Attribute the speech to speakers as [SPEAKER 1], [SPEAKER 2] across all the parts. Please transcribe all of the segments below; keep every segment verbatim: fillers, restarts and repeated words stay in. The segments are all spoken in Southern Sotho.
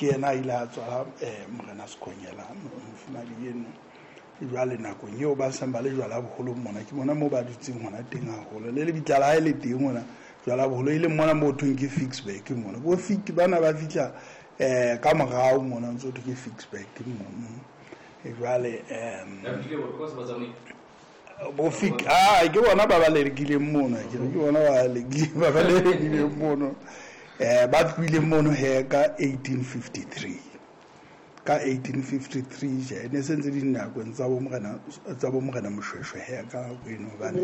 [SPEAKER 1] Ke yena a ile a tswala um Morena Sekonyela, mofumahadi eno. Jwale nakong eo ba seng ba le jwala boholong mona, ke mona moo ba dutseng hona teng haholo. Le lebitla la hae le teng mona jwala boholo, e leng mona moo thweng ke Ficksburg mona. Bo Fick bana ba fihla um ka morao mona, ntso thwe ke Ficksburg mono. Jwale um bo Fick, ah, ke bona ba ba lelekileng mona, ke re ke bona ba ba ba lelekileng mono. um ba tlohileng mono he ka eighteen fifty-three, ka eighteen fifty-three je ne se ntse dinakong tsa bo morena, tsa bo morena Moshweshwe he ka nako eno, hobane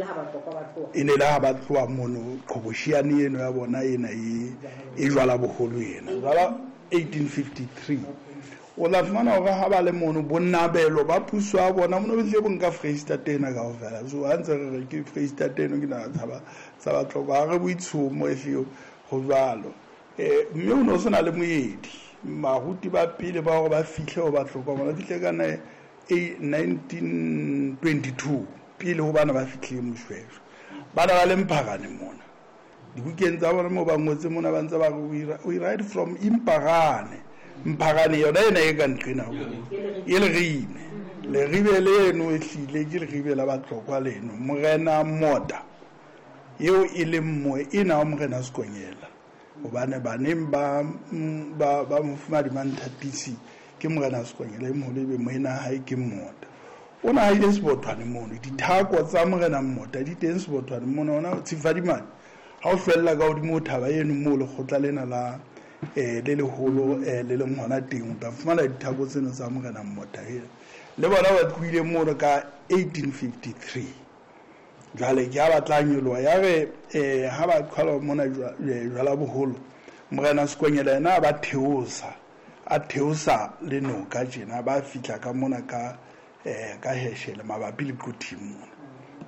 [SPEAKER 1] e ne le ha ba tloha mono qhobosheane eno ya bona ena e e jwala boholo ena. Jwala eighteen fifty-three o tla fumana hore ha ba le mono bonnabelo ba puso ya bona mono bo bo nka Foreisetata ena kaofela. So ha ntse re re ke Foreisetata eno, ke naha tsa ba tsa Batlokwa, ha re boitshomo ehlile ho jwalo. Eh mme o no sena le moedi. Baruti ba pele ba hore ba fihle ho Batlokwa bona fihle ka nineteen twenty-two pele ho bana ba fihlile Moshweshwe. Bana ba le Mpharane mona. Dibukeng tsa bona moo ba ngotse mona ba ntse ba re we ride from Imparane. Mpharane yona ena e ka nqena ho. E Leribe. Leribe leno e hlile ke leribe la Batlokwa leno. Morena Mota eo e leng moe ena wa Morena Sekonyela. Hobane baneng ba ba ba mofumahadi Manthatisi ke Morena Sekonyela e moholo, ebe moena hae ke Mota. O na haile Sebothwane mono, dithako tsa Morena Mota di teng Sebothwane mono, ona Tshifadimane. Ha o hlwella ka hodimo ho thaba eno moo lekgotla lena la eh le leholo eh le leng hona teng, o tla fumana dithako tseno tsa Morena Mota ena. Le bona ba tlohile mono ka eighteen fifty-three. Jwale ke ha ba tla nyoloha, ya re eh ha ba qhala mona jwala boholo, Morena Sekonyela yena ba theosa, a theosa le noka tjena, ba fihla ka mona ka eh ka Heshele mabapi le Quthing mona.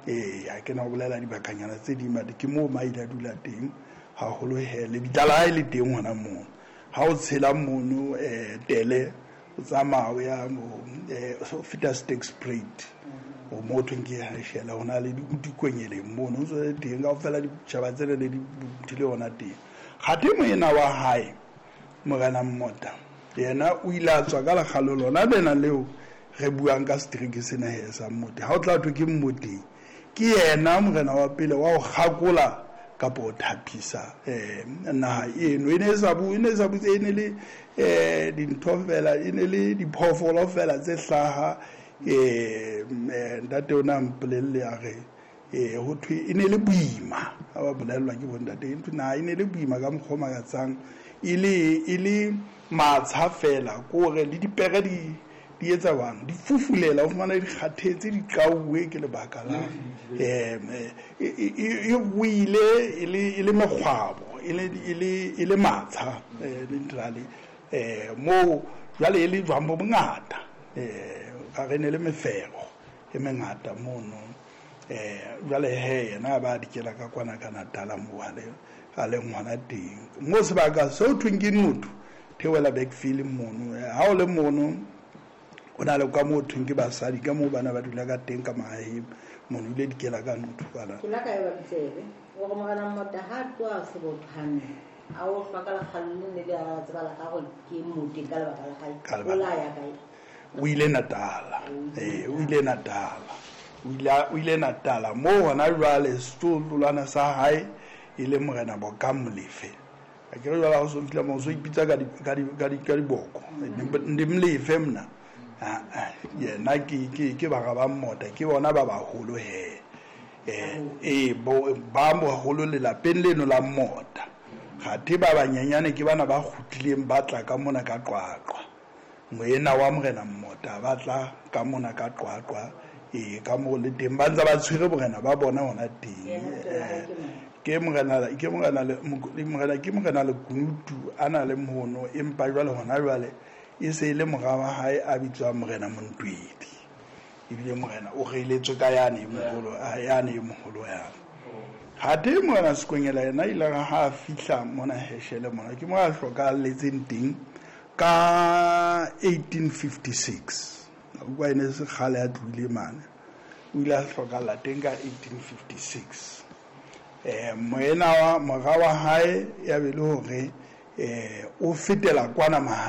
[SPEAKER 1] Eh ha ke na ho bolela dibakanyana tse ding, but ke moo ma ile a dula teng haholo he, lebitla la hae le teng hona moo. Ha o tshela mono eh tele o tsamaya o ya mo eh o feta Sterkspruit, o mo thweng ke Heshele, hona le dikonyeleng mono, o ntso le teng kaofela ditjhaba tsena le di buthile hona teng. Kgathe moena wa hae Morena Mota yena o ile a tswa ka lekgalo lona lena leo re buang ka setereke sena he sa Mmote. Ha o tla thwe ke Mmoteng, ke yena morena wa pele wa ho kgakola kapa ho thapisa eh naha eno. E ne e sa bu, e ne e sa butse, e ne le eh dintho fela, e ne le diphoofolo fela tse hlaha. Eh ntate o na mpolelle a re eh ho thwe e ne le boima, ha ba bolellwa ke bontate, e thwe naha e ne le boima ka mokgwa o makatsang, e le e le matsha fela, kore le dipere di di etsa bang di fufulela, o fumana di kgathetse, di qauwe ke lebaka la eh e ruile e le e le mekgwabo, e le e le e le matsha eh literally eh moo jwale e le jwang bo bongata, eh a re ne le mefero e mengata mono. Eh jwale he yena ba dikela ka kwana ka Natala moo a le a le ngwana teng mo sebaka seo thweng ke Notho theohela Backfield mono. Ha o le mono o na le ka moo thweng ke basadi, ka moo bana ba dula ka teng ka mahaheng mono, ile dikela ka Notho bana.
[SPEAKER 2] Ke la ka e ba tsebe hore Morena Mota ha tloha Sebothwane a o hlwa ka lekgalo le ne le a tseba la gagwe ke Mmoteng ka lebaka la hae.
[SPEAKER 1] Ka
[SPEAKER 2] O la ya kae?
[SPEAKER 1] O ile Natala. Eh o ile Natala. O ile o ile Natala moo hona jwale setolwana sa hae e le Morena Bokang Molefe. A ke re jwale ha o so fihla moo o so ipitsa ka di ka di ka di ka diboko. Ndi Molefe mna. Ah, ah, yena ke ke ke bara ba Mmota, ke bona ba baholo he. Eh eh bo ba baholo lelapeng leno la Mmota. Kgathe ba banyenyane ke bana ba kgutlileng ba tla ka mona ka Qwaqwa. Moena wa Morena Mmota ba tla ka mona ka Qwaqwa, eh ka moo le teng ba ntse ba tshwere borena ba bona hona teng. Eh, ke morena, ke morena le, morena, ke morena Lekunutu a na le mono, empa jwale hona jwale e se e le mora wa hae a bitswang Morena Montwedi. Ebile morena o reiletswe ka yane e moholo, a yane e moholo yane. Hathe Morena Sekonyela yena ile ra ha fihla mona Heshele mona, ke mo a hlokahalletseng teng ka eighteen fifty-six. Utlwa e ne se kgale a tlohile mane. O ile a hlokahalla teng ka eighteen fifty-six. Eh moena wa mora wa hae ya be le hore eh o fetela kwana